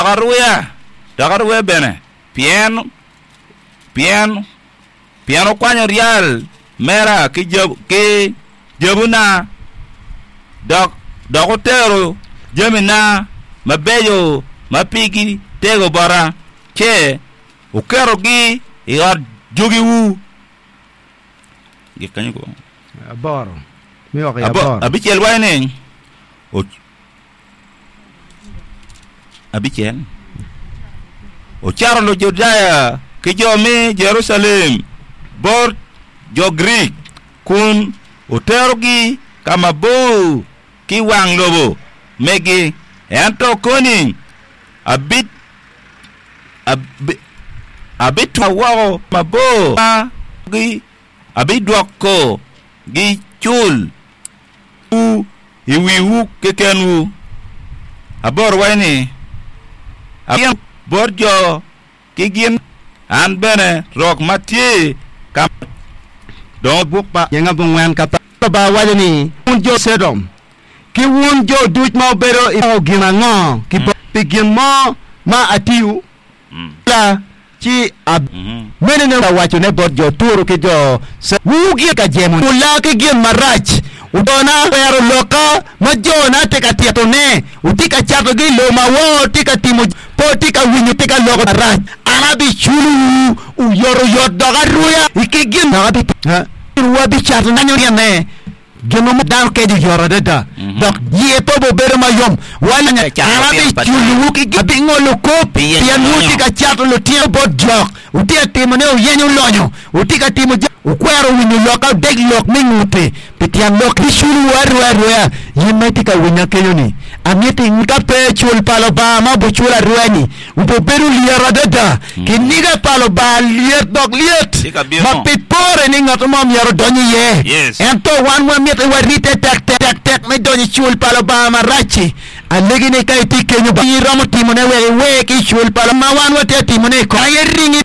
Dok aruya, dok aruya bene, pien, pien, pien wukwanyo ryal mera ki ki jabuna, dok, dok wutero jamina mabeco ma pigi tego bota, ce wuketogi i ot jogiwu. Abicel waco ni, Abicel, ocato Lujudaya ki jo me Jerucalem bot jo Grik, kun oterogi ka mabor ki wang lobo megi. Ento koni abitwa woko mabor, abidwokogi cul. Wu i wiwu kekenwu. Aboro waco ni, Abino bot jo ki gin, an bene rok ma tye ka dong. Buk pa Jenga Bongwen ka pa Lubanga waco ni, Wun jo Codom, ki wun jo duc ma wubedo i gin ango ki bot pi gin mo ma atiyo? La, ci ab. Meno ne awacone bot jo Turo ki jo Ce. Wugi ka jemo wula ki gin marac, wudona kwero lokka ma jona tye ka titone, wutye ka catogi i lobo ma woko, wutye ka timo, pe wutye ka winyo, wutye ka loko marac. An abiculowu oyotoyot dok aruya i ki gin dok abitimo, abicato gine. Gin mo dano keco oyot adada dok iye pe obedo mayom. An abiculowu ki gin, abingolo kop, pien wutye ka cato lutino bot jok, wutye ka timone wuyenyo lonyo, wutye ka timo jami, wukwero winyo lokka, wudeg lok me nguti pi tyen lok. Abiculowu arweya arweya. In ma itye ka winya kenyo-ni, amito inge ka pe cul pa Lubanga ma obiculo arweya-ni obibedo lyet adada. Kiniga pa Lubanga lyet dok lyet ma pe pore ni ngat mo myero odony iye. Ento wan wamito ni waribbe tektek me donyo i cul pa Lubanga marac-ci. Alegi ni ka itye kenyo, ba iromo timone wek iwer ki i cul pa Lubanga ma wan watye ka timone i kare. Aye ringi.